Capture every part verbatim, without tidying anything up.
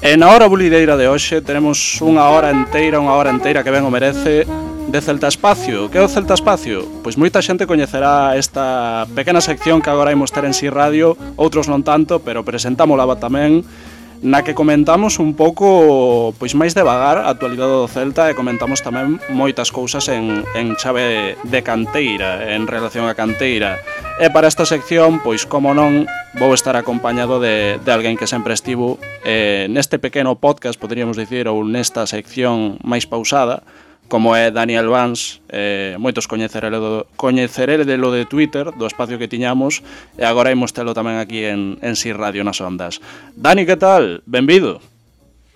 E na hora bulideira de hoxe teremos unha hora inteira, unha hora inteira que ben o merece de Celta Espacio. Que é o Celta Espacio? Pois moita xente coñecerá esta pequena sección que agora imos ter en Si Radio, outros non tanto, pero presentámola tamén, na que comentamos un pouco, pois máis devagar, a actualidade do Celta e comentamos tamén moitas cousas en, en chave de canteira, en relación a canteira. E para esta sección, pois como non, vou estar acompañado de, de alguén que sempre estivo eh, neste pequeno podcast, poderíamos dicir, ou nesta sección máis pausada, como é Daniel Vans, eh, moitos coñecerelo, coñecerelo de Twitter, do espacio que tiñamos, e agora imos telo tamén aquí en, en Si Radio nas ondas. Dani, que tal? Benvido.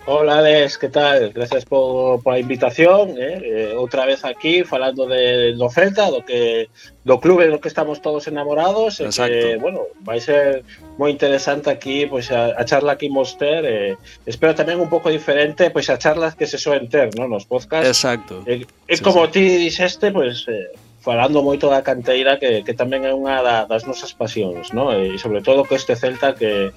Hola, Alex, que tal? Gracias por, por a invitación, eh? Eh, outra vez aquí falando de, do Celta, do que do clube do que estamos todos enamorados. Exacto. E que, bueno, vai ser moi interesante aquí, pois a, a charla que imos ter, eh, espero tamén un pouco diferente, pois a charlas que se soen ter, non, nos podcasts. Exacto. E, e sí, como sí. ti dixeste, pois eh, falando moito da canteira, que, que tamén é unha da, das nosas pasións, non? E sobre todo que este Celta que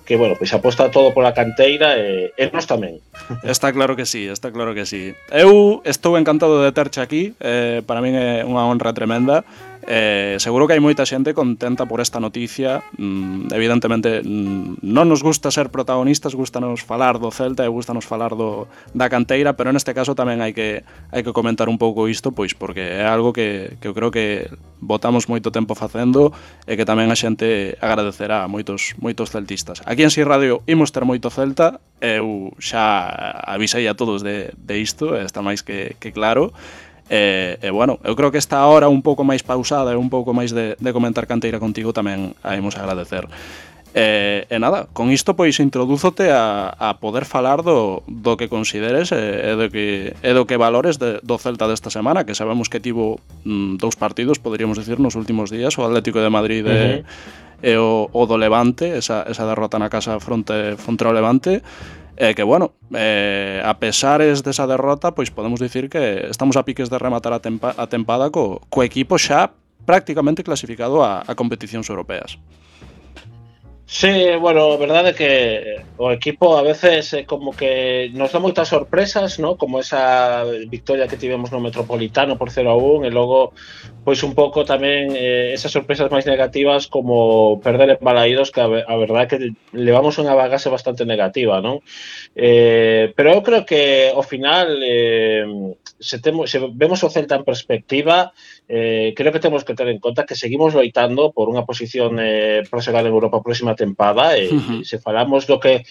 que, bueno, pois aposta todo pola canteira e, e nós tamén. Está claro que sí, está claro que sí. Eu estou encantado de terche aquí, eh, para min é unha honra tremenda. Eh, seguro que hai moita xente contenta por esta noticia. mm, Evidentemente mm, non nos gusta ser protagonistas, gustanos falar do Celta e gustanos falar do, da canteira, pero neste caso tamén hai que hai que comentar un pouco isto, pois porque é algo que, que eu creo que botamos moito tempo facendo e que tamén a xente agradecerá a moitos, moitos celtistas. Aquí en Si Radio imos ter moito Celta, eu xa avisei a todos de, de isto, está máis que, que claro. E, e bueno, eu creo que esta hora un pouco máis pausada e un pouco máis de, de comentar canteira contigo tamén a imos agradecer. E, e nada, con isto pois introdúzote a, a poder falar do, do que consideres e, e, do que, e do que valores de, do Celta desta semana, que sabemos que tivo mm, dous partidos, poderíamos dicir, nos últimos días, o Atlético de Madrid e, uh-huh. e o, o do Levante, esa, esa derrota na casa fronte, fronte ao Levante. E que, bueno, eh, a pesares desa derrota, pois podemos dicir que estamos a piques de rematar a, tempa, a tempada co, co equipo xa prácticamente clasificado a, a competicións europeas. Sí, bueno, a verdade é que o equipo a veces é como que nos dá moitas sorpresas, ¿no? Como esa victoria que tivemos no Metropolitano por cero a un, e logo pois un pouco tamén eh, esas sorpresas máis negativas como perder en Balaídos, que a, a verdade é que levamos unha bagase bastante negativa, non? Eh, pero eu creo que ao final eh, se, temo, se vemos o Celta en perspectiva, eh, creo que temos que ter en conta que seguimos loitando por unha posición eh, para xogar en Europa a próxima tempada, e uh-huh. se falamos do que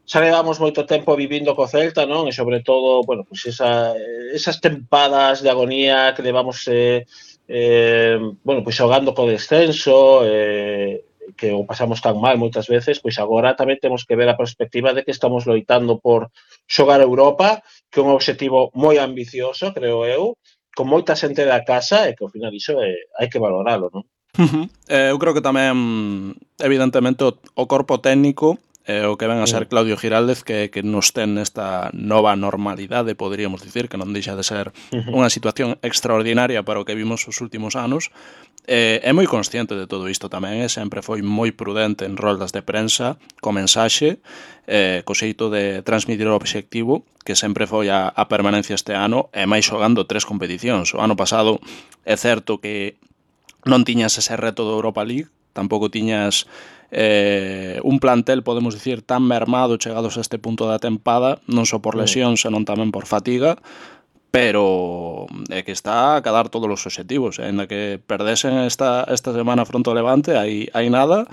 xa levamos moito tempo vivindo co Celta, non? E sobre todo, bueno, pues esa, esas tempadas de agonía que levamos eh, eh, bueno, pues xogando co descenso, eh, que o pasamos tan mal moitas veces, pois agora tamén temos que ver a perspectiva de que estamos loitando por xogar Europa, que é un objetivo moi ambicioso, creo eu, con moita xente da casa, e que ao final iso é, hai que valoralo, non? Uh-huh. Eh, eu creo que tamén, evidentemente, o, o corpo técnico, eh, o que ven a ser Claudio Giraldez, que, que nos ten nesta nova normalidade, poderíamos dicir, que non deixa de ser uh-huh. unha situación extraordinaria para o que vimos os últimos anos, eh, é moi consciente de todo isto tamén, e sempre foi moi prudente en roldas de prensa, co mensaxe, eh, co xeito de transmitir o obxectivo, que sempre foi a, a permanencia este ano, e máis xogando tres competicións. O ano pasado é certo que non tiñas ese reto do Europa League, tampouco tiñas eh, un plantel, podemos dicir, tan mermado chegados a este punto da tempada, non só por lesión, senón tamén por fatiga, pero é que está a cadar todos os obxectivos, ainda que perdesen esta, esta semana fronte ao Levante, hai, hai nada,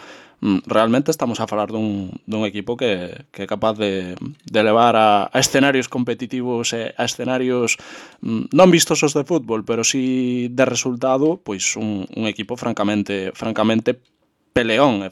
realmente estamos a falar dun, dun equipo que, que é capaz de, de levar a, a escenarios competitivos e a escenarios non vistosos de fútbol, pero sí de resultado, pois un, un equipo francamente francamente peleón,